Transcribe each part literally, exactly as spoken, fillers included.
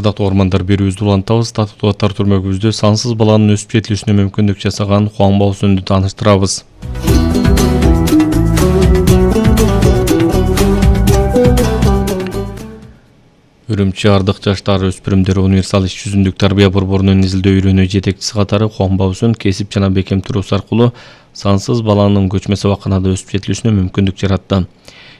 Ардактуу ормандар, берүүбүздү улантабыз. Татыктуу аттар түрмөгүбүздө сансыз баланын өсүп жетилүүсүнө мүмкүндүк жасаган Хуан Баосүндү тааныштырабыз. Үрүмчү Ардак жаштар өспүрүмдөр универсал иш жүзүндүк тарбия борборунун изилдөө үйрөнүү жетекчиси катары Хуан Баосүн кесип жана бекем туруусу аркылуу сансыз баланын көчмө сабаканада өсүп жетилүүсүнө мүмкүндүк жаратты.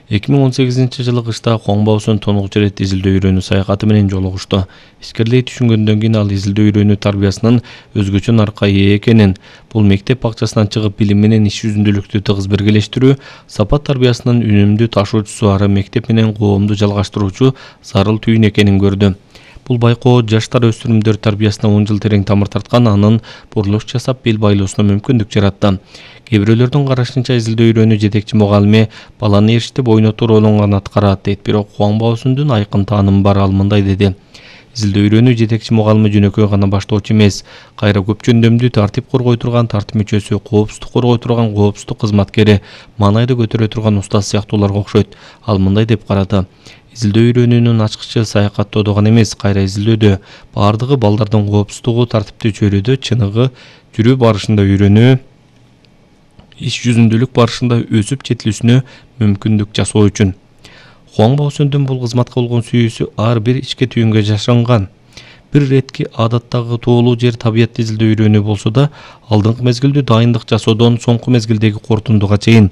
эки миң он сегизинчи жылы кышта Хуан Баосүн тонугучу ирет изилдөө үйрөнүү саякаты менен жолугушту. Ичкерлей түшүнгөндөн кийин ал изилдөө үйрөнүү тарбиясынын өзгөчө наркы ээ экенин, бул мектеп бакчасынан чыгып билим менен иш жүзүндүүлүктү тыгыз биргелештирүү, сапат тарбиясынын үнүмдүү ташуучусу ары мектеп менен коомду жалгаштыруучу зарыл түйүн экенин көрдү. Бул байкоо жаштар өспүрүмдөр тарбиясына он жыл терең тамыр тарткан, анын бурулуш жасап бел байлоосуна мүмкүндүк жаратты. Кээ бирөөлөрдүн карашынча изилдөө үйрөнүү жетекчи мугалими баланы эриштеп ойнотуу ролун гана аткарат дейт, бирок Хуан Баосүндүн айкын таанымы бар, ал мындай деди. Изилдөө үйрөнүү жетекчи мугалими жөнөкөй гана баштоочу эмес, кайра көп жөндөмдүү тартип коргой турган тартип мүчөсү, коопсуздук коргой турган коопсуздук кызматкери, маанайды көтөрө турган устаз сыяктууларга окшойт. Ал мындай деп карады. Изилдөө үйрөнүүнүн ачкычы саякаттоодо гана эмес, кайра изилдөөдө баардыгы балдардын коопсуздугу, тартиптүү чөйрөдө чыныгы жүрүү барышында үйрөнүү, иш жүзүндүүлүк барышында өсүп жетилүүсүнө мүмкүндүк жасоо үчүн. Хуан Баосүндүн бул кызматка болгон сүйүүсү ар бир ичке түйүнгө жашанган. Бир иретки адаттагы тоолуу жер табият изилдөө үйрөнүү болсо да, алдыңкы мезгилдүү дайындык жасоодон соңку мезгилдеги кортундуга чейин.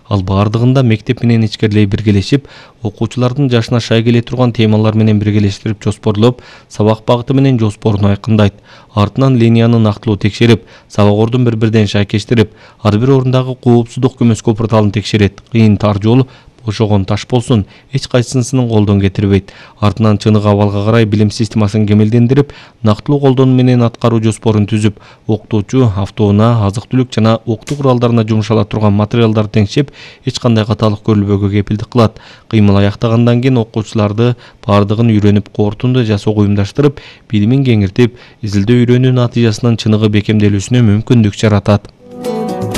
Ал баардыгында мектеп менен ичкерлей биргелешип, окуучулардын жашына шай келе турган темалар менен биргелештирип жоспорлоп, сабак багыты менен жоспорун айкындайт. Артынан линияны нактылуу текшерип, сабак бири-бирден шайкештирип, ар бир орундагы коопсуздук көмөскө порталын текшерет. Кыйын тар жол, бошогон таш болсун, эч кайсысын колдон кетирбейт. Артынан чыныгы абалга карай билим системасын кемелдендирип, нактылуу колдонуу менен аткаруу жоспорун түзүп, окутуучу автоунаа, азык-түлүк жана окутуу куралдарына жумшала турган материалдарды теңшеп, эч кандай каталык көрүлбөөгө кепилдик кылат. Кыймыл аяктагандан кийин окуучуларды баардыгын үйрөнүп, кортунду жасоого уюмдаштырып, билимин кеңиртип, изилдөө үйрөнүү натыйжасынын чыныгы бекемделүүсүнө мүмкүндүк жаратат.